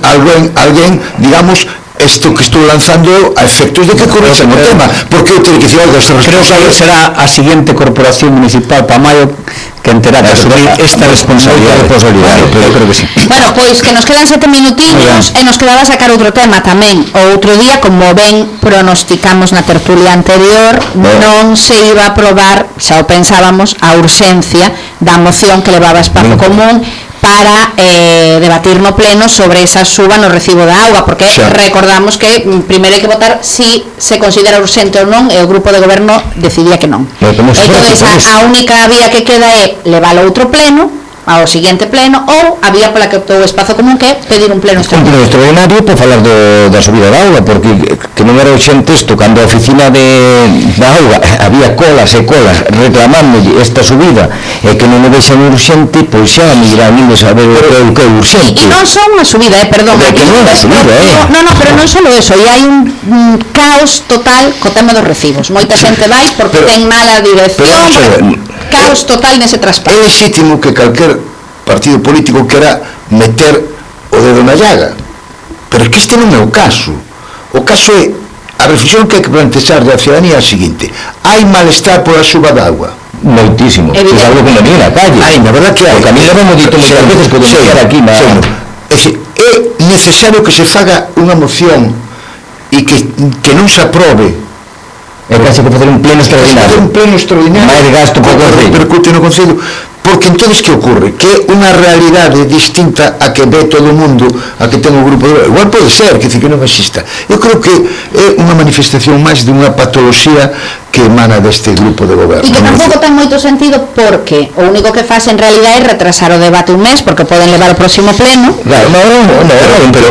alguén, digamos, isto que estou lanzando a efectos de que correxa o tema, porque eu teño que dicir, oiga, creo que será a seguinte corporación municipal para maio que terá que asumir esta responsabilidade. Eu creo que sí. Bueno, pois que nos quedan 7 minutiños e nos quedaba sacar outro tema tamén. O outro día, como ben pronosticamos na tertulia anterior, non se iba a aprobar, xa o pensábamos, a urxencia da moción que levaba Espazo Común para debatir no pleno sobre esa suba no recibo da auga, porque recordamos que primeiro hai que votar si se considera urxente ou non, e o grupo de goberno decidía que non. Entón, a única vía que queda é leválo a outro pleno, ao seguinte pleno, ou a vía pola que optou o Espazo Común, que é pedir un pleno extraordinario. Un pleno extraordinario para falar da subida da auga, porque que non era urxente isto, cando a oficina da auga había colas e colas reclamando esta subida, e que non o deixan urxente, pois xa me dirán a saber o que é urxente. E non só unha subida, perdón. Que non é unha subida, No, pero non só eso, e hai un caos total co tema dos recibos. Moita xente vai porque ten mala dirección, caos total nese traspaso. É legítimo que calquer partido político quera meter o dedo na llaga, pero é que este non é o caso. O caso é a reflexión que hai que plantear da ciudadanía é a seguinte: hai malestar pola suba de agua, moitísimo, é algo que non é na calle. Hai, na verdad que hai, porque a mí le hemos dito moitas veces que denunciar aquí é necesario que se faga unha moción e que non se aprobe, é casi que facer un pleno extraordinario, máis gasto para o Concello, repercute no Concello, porque entonces que ocorre? Que é unha realidade distinta a que ve todo o mundo, a que ten o grupo de... Igual pode ser, que non exista. Eu creo que é unha manifestación máis de unha patoloxía que emana deste grupo de goberno. E que tampouco ten moito sentido, porque o único que faz en realidad é retrasar o debate un mes, porque poden levar o próximo pleno. Claro, pero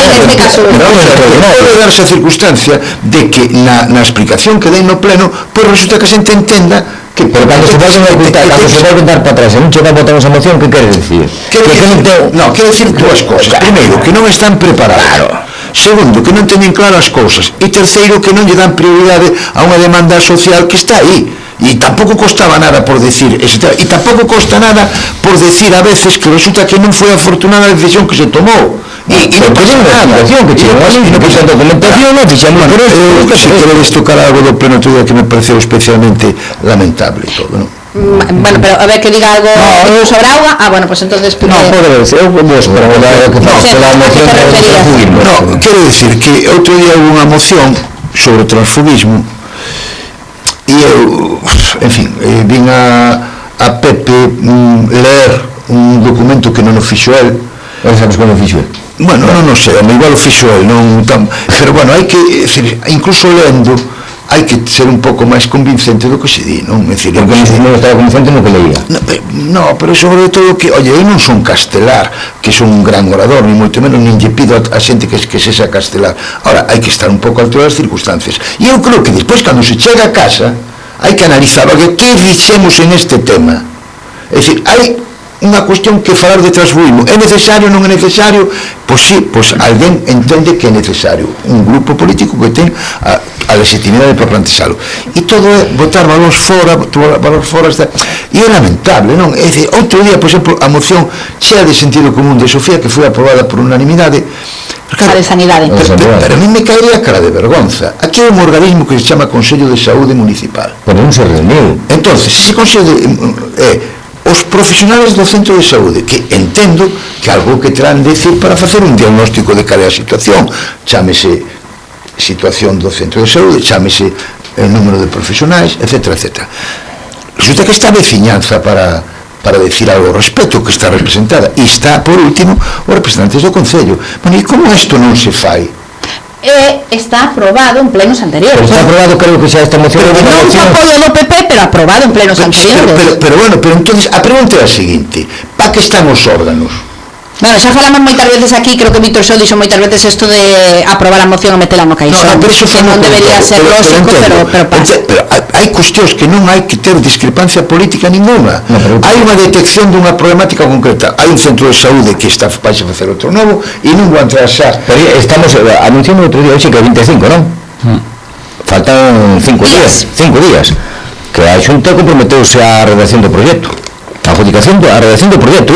neste caso pode darse a circunstancia de que na explicación que den no pleno, pois resulta que a xente entenda que cando se volven dar para atrás e non che vai votar esa moción, que quere dicir? Quere dicir dúas cousas. Primeiro, que non están preparados. Segundo, que non teñen claras as cousas. E terceiro, que non lle dan prioridade a unha demanda social que está aí. E tampouco costaba nada por decir, e tampouco costa nada por decir a veces que resulta que non foi afortunada a decisión que se tomou. E non pasa nada. Non pasa documentación, non fixamos por isto. Se queredes tocar algo do pleno todo que me pareceu especialmente lamentable todo, non? Bueno, pero a ver que diga algo sobre auga. Bueno, pues entonces... No, pode ser, eu vou esperar que faça a moción sobre o transfugismo. No, quero decir que outro día houve unha moción sobre o transfugismo e eu, en fin, vin a Pepe ler un documento que non o fixo el. Non sabes como o fixo el? Bueno, non sei, igual o fixo el, pero bueno, hai que, incluso lendo, hai que ser un pouco máis convincente do que se di, non? Porque non estaba convincente no que leía. No, pero sobre todo que, oye, eu non son castelar, que son un gran orador, ni moito menos, nin lle pido a xente que sexa castelar. Ahora, hai que estar un pouco a altura das circunstancias. E eu creo que despois, cando se chega a casa, hai que analizar, oye, que dixemos en este tema? É dicir, hai unha cuestión que falar de transfugismo. É necesario, non é necesario? Pois sí, pois alguén entende que é necesario. Un grupo político que ten a legitimidade para plantexalo. E todo é botar valores fora, e é lamentable, non? É dicir, outro día, por exemplo, a moción chea de sentido común de Sofía, que foi aprobada por unanimidade, a de sanidade. Pero a mí me caería a cara de vergonza. Aquí hai un organismo que se chama Consello de Saúde Municipal. Pero non se reuniu. Entonces, ese Consello os profesionales do centro de saúde, que entendo que algo que terán de decir para facer un diagnóstico de cal é a situación, chámese situación do centro de saúde, chámese el número de profesionais, etc. Resulta que está a veciñanza para decir algo ao respecto, que está representada, e está, por último, os representantes do Concello. Bueno, e como isto non se fai? Está aprobado en plenos anteriores. Está aprobado, creo que xa esta moción. Non se apoio do PP, pero aprobado en plenos anteriores. Pero bueno, entonces a pregunta é a seguinte: para que están os órganos? Bueno, xa falamos moitas veces aquí, creo que Víctor Só dixo moitas veces isto de aprobar a moción e metela no caixón, que non debería ser lógico, pero pasa. Pero hai cuestións que non hai que ter discrepancia política ninguna. Hai unha detección dunha problemática concreta. Hai un centro de saúde que está para facer outro novo e non vou entrar xa. Pero estamos anunciando outro día, hoxe que é 25, non? Faltan 5 días. Que a Xunta comprometeuse a redacción do proxecto. A adjudicación, a redacción do proxecto,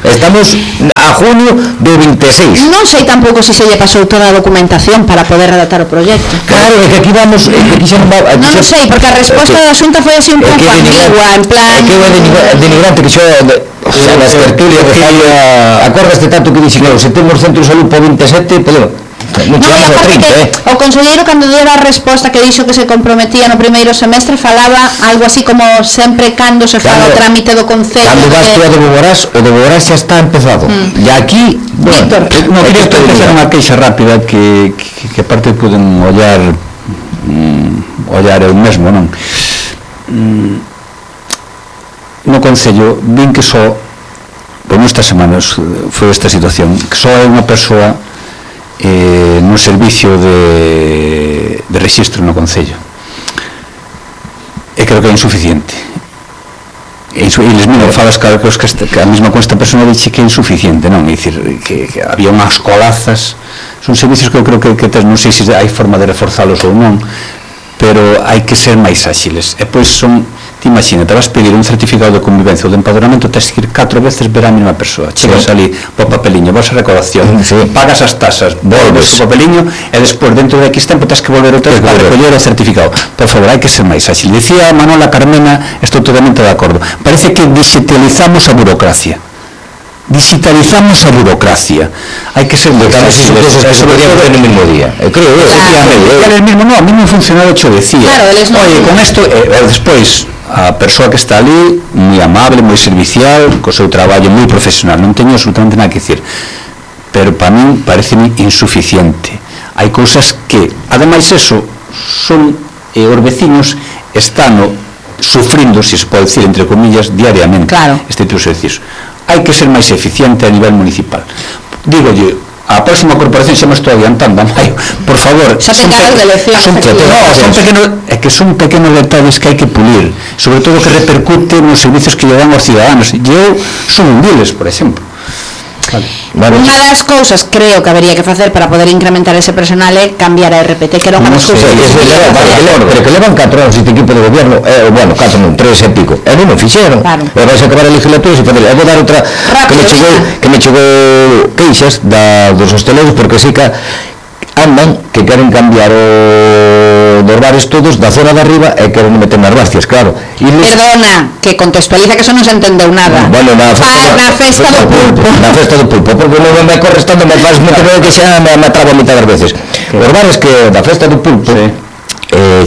Estamos a junio do 26. Non sei tampouco se lle pasou toda a documentación para poder redactar o proxecto. Claro, é que aquí vamos, Non o sei, porque a resposta da Xunta foi así un pouco ambigua, en plan... É que é denigrante que xo... O sea, nas tertulias de falla... Acordaste tanto que dixen, se temos centro de salud por 27, podemos... Non chegamos a 30, O conselleiro, cando dera a resposta que dixo que se comprometía no primeiro semestre, falaba algo así como sempre cando se fala o trámite do Concello. Cando vas tú a de Boborás xa está empezado. E aquí... Víctor, non quería facer unha queixa rápida que aparte poden ollar eu mesmo, non? No Concello vin que só, por nestas semanas foi esta situación, que só é unha persoa no servicio de rexistro no Concello, e creo que é insuficiente, e les mesmo falas que a mesma con esta persona dixe que é insuficiente, non? É dicir, que había unhas colazas, son servicios que eu creo que non sei se hai forma de reforzalos ou non, pero hai que ser máis áxiles, e pois son... Imagina, te vas pedir un certificado de convivencia ou de empadronamento, tens que ir 4 veces ver a mesma persoa. Chegas ali po papeliño, vas a recaudación, pagas as tasas, volves o papeliño e despois dentro de X tempo tens que volver outra vez para recoller o certificado. Por favor, hai que ser máis ágil. Dicía Manuela Carmena, estou totalmente de acordo, parece que digitalizamos a burocracia. Hai que ser moi ágiles. Eso podría hacer no mesmo día. Creo, a mí non funcionaba, xo decía. Oye, con isto, despois a persoa que está ali, moi amable, moi servicial, co seu traballo moi profesional, non teño absolutamente nada que dicir, pero para min pareceme insuficiente. Hai cousas que, ademais eso, son os vecinos están sufrindo, se se pode decir entre comillas, diariamente este tipo de servicios. Hai que ser máis eficiente a nivel municipal. Digolle, a próxima corporación xa me estou adiantando a maio, por favor, son pequenos detalles que hai que pulir, sobre todo que repercute nos servicios que lle dan aos ciudadanos. E eu son un deles, por exemplo. Unha das cousas creo que habería que facer para poder incrementar ese personal é cambiar a RPT, que era unha das cousas pero que levan 4 anos este equipo de gobierno, bueno, 4 non, 3 e pico, e non o fixeron, e vais a acabar a legislatura e facer, vou dar outra que me chegou queixas dos hosteleiros, porque sí que andan que queren cambiar dos bares todos da zona de arriba e queren meter nas Barcias, claro. Perdona, que contextualiza que eso non se entendeu nada. Bueno, na festa do pulpo. Na festa do pulpo, porque non me corre estando, me faz meter que xa me atrabo a mitad das veces. Os bares que da festa do pulpo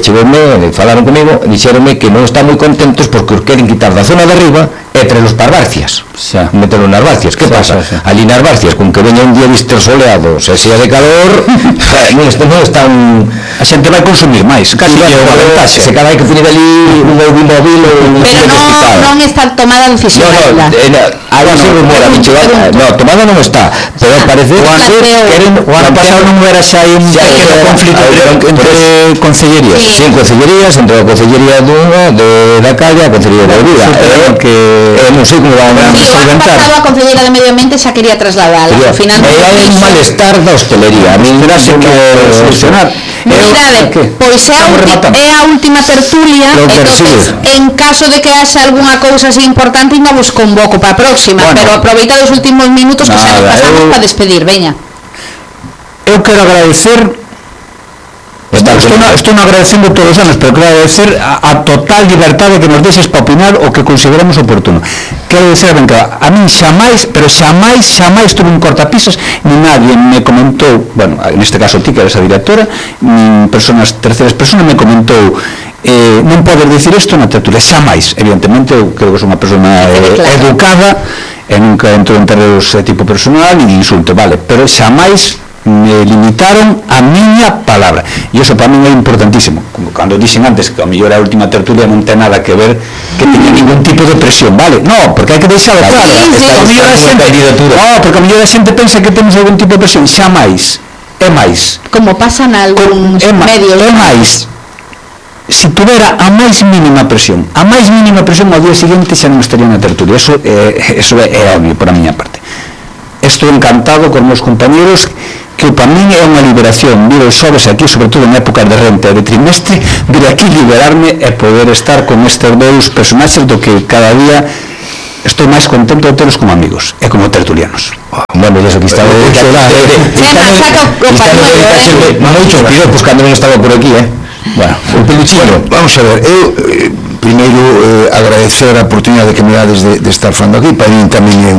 chegoume, falaron comigo, dixeronme que non están moi contentos porque os queren quitar da zona de arriba e traerlos para Barcias, meterlos nas Barcias. Que pasa? Ali nas Barcias, con que veña un día vistos soleados e sea de calor, non están... A xente vai consumir máis, casi é unha ventaxe. Se cada hai que poner ali un automóvil ou un pero non está tomada a decisión. tomada non está, pero parece que o ano pasado non era xa un conflito entre concellerías. Sí, concellerías, entre a concellería da Calle e a concellería de Vida, que non sei como van a solventar. O ano pasado a concelleira de Medio Ambiente xa quería trasladala, ao final hai un malestar da hostelería. A mí terá que solucionar. Mirade, pois é a última tertulia, entonces, en caso de que haxa algunha cousa así importante, ainda vos convoco para a próxima, pero aproveita os últimos minutos que xa nos pasamos para despedir, veña. Eu quero agradecer, estou agradecendo todos os anos, pero quero agradecer a total liberdade que nos deixes para opinar o que consideramos oportuno. Quero dizer, a min xamais tuve un cortapisas, ni nadie me comentou, bueno, neste caso ti que eres a directora, nin terceiras personas me comentou non podes dicir isto na tertulia, xamais. Evidentemente, eu creo que sou unha persona educada e nunca entro en terreos de tipo personal e insulto, vale, pero xamais me limitaron a miña palabra, e iso para min é importantísimo. Como cando dixen antes que a mellor a última tertulia non ten nada que ver que teña ningún tipo de presión, vale? No, porque hai que deixalo claro. Porque a mellor a xente pensa que temos algún tipo de presión. Xa máis, é máis, como pasa nalgúns medios, é máis. Se tuvera a máis mínima presión ao día seguinte xa non estaría na tertulia. Eso é obvio por a miña parte. Estou encantado con meus compañeros, que para min é unha liberación vir os xoves aquí, sobre todo en épocas de renta e de trimestre, vir aquí liberarme e poder estar con estes dous personaxes do que cada día estou máis contento de telos como amigos e como tertulianos. Bueno, eso que estaba moitos piropos cando non estaba por aquí, Bueno, o peluchillo. Vamos a ver, eu primeiro agradecer a oportunidade que me dades de estar falando aquí. Para mí tamén é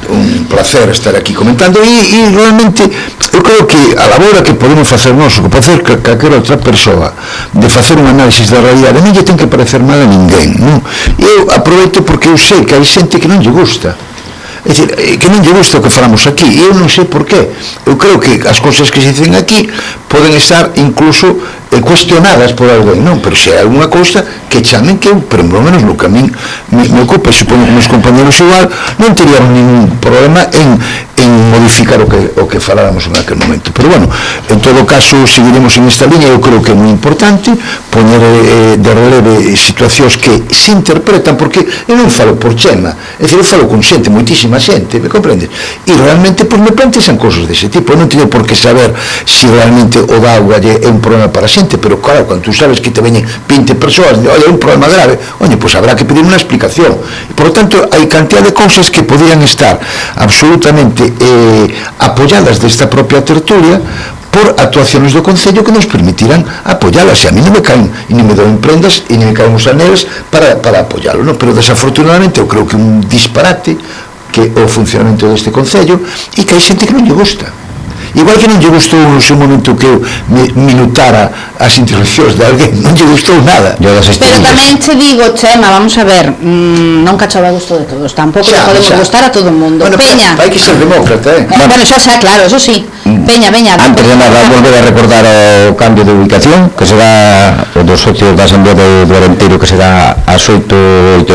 un placer estar aquí comentando e realmente eu creo que a labora que podemos facer nós, o que pode facer calquera outra persoa de facer un análisis da realidade non lle ten que parecer mal a ninguén, non? Eu aproveito porque eu sei que hai xente que non lle gusta, é dicir, que non lle gusta o que falamos aquí, e eu non sei por qué. Eu creo que as cousas que se dicen aquí poden estar incluso cuestionadas por alguén, non? Pero se hai alguna cousa que chamen que eu, pero por lo menos no que a min me ocupa, e supoño que meus compañeros igual, non teríamos ningún problema en modificar o que faláramos en aquel momento. Pero bueno, en todo caso seguiremos en esta línea. Eu creo que é moi importante poñer de releve situacións que se interpretan, porque eu non falo por Chema, é dicir, eu falo con xente, moitísima xente, me comprendes? E realmente, pois me plantexan cosas dese tipo. Eu non teño por que saber se realmente o da auga é un problema para a xente, pero claro, cando tú sabes que te veñen 20 persoas, olha, é un problema grave, pois habrá que pedir unha explicación. E, por lo tanto, hai cantidad de cousas que podrían estar absolutamente apoyadas desta propia tertulia por actuaciones do Concello que nos permitirán apoyalas, e a mí non me caen e non me doen prendas e non me caen os aneles para apoyalo, non? Pero desafortunadamente eu creo que un disparate que o funcionamento deste Concello e que hai xente que non lle gusta. Igual que non lle gustou no seu momento que eu minutara as intervencións de alguén, non lle gustou nada. Pero tamén te digo, Chema, vamos a ver, non cachaba gusto de todos, tampouco podemos gustar a todo o mundo. Bueno, Peña, hai que ser demócrata, Bueno, xa, claro, eso sí. Peña. Antes de nada, volver a recordar o cambio de ubicación, que será o dos socios da Asamblea do Arenteiro, que será ás 8:30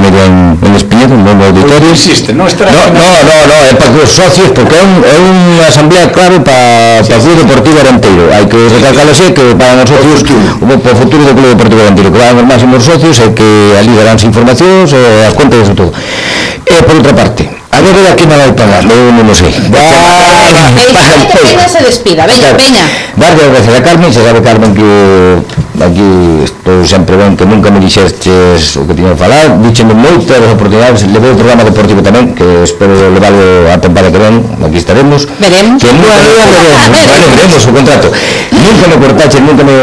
en Espiñedo, un novo auditorio. Non, é para os socios, porque é unha asamblea clave para o Club Deportivo Arenteiro. Hai que recalcarlo así, que para os socios, para o futuro do Club Deportivo Arenteiro, que van os máximos socios e que ali daránse informacións, as contas e todo. E por outra parte, a ver aquí non vai pagar, eu non o sei. Peña se despida, veña. Darlle as gracias a Carmen, se sabe Carmen que aquí estou sempre ben, que nunca me dixestes o que tiña que falar, díxeme moitas oportunidades, levei o programa deportivo tamén, que espero levarlo a temporada que ven, aquí estaremos. Veremos. Veremos o contrato. Nunca me cortaches, nunca me...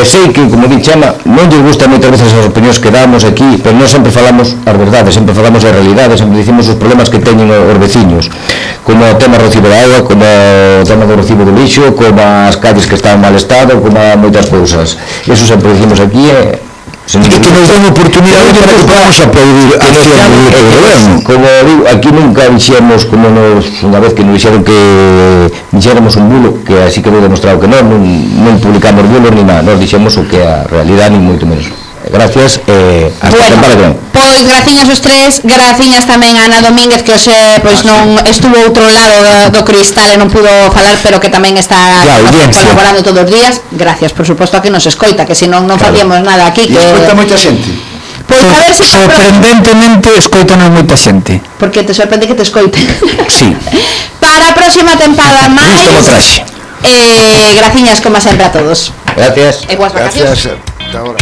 sei que, como di Chema, non lle gusta moitas veces as opinións que damos aquí, pero non sempre falamos as verdades, sempre falamos a realidade, sempre dicimos os problemas que teñen os veciños, como o tema do recibo de agua, como o tema do recibo do lixo, como as calles que están en mal estado, como moitas cousas. Eso sempre dicimos aquí e que nos den oportunidade para que podamos aplaudir a acción do goberno. Como digo, aquí nunca dixemos, como unha vez que nos dixeron que dixéramos un bulo, que así quedou demostrado que non publicamos bulos ni nada, nos dixemos o que é a realidade, ni moito menos. Gracias, hasta temporada que ven. Pois graciñas os tres, graciñas tamén a Ana Domínguez, que hoxe pois non estuvo outro lado do cristal e non pudo falar, pero que tamén está colaborando todos os días. Gracias, por suposto, a que nos escoita, que senón non facíamos nada aquí. E escoita moita xente. Pois a ver se sorprendentemente escoitanos moita xente. Porque te sorprende que te escoite. Sí. Para a próxima tempada máis. Graciñas como sempre a todos. Gracias. E boas vacacións. Gracias. Hasta ahora.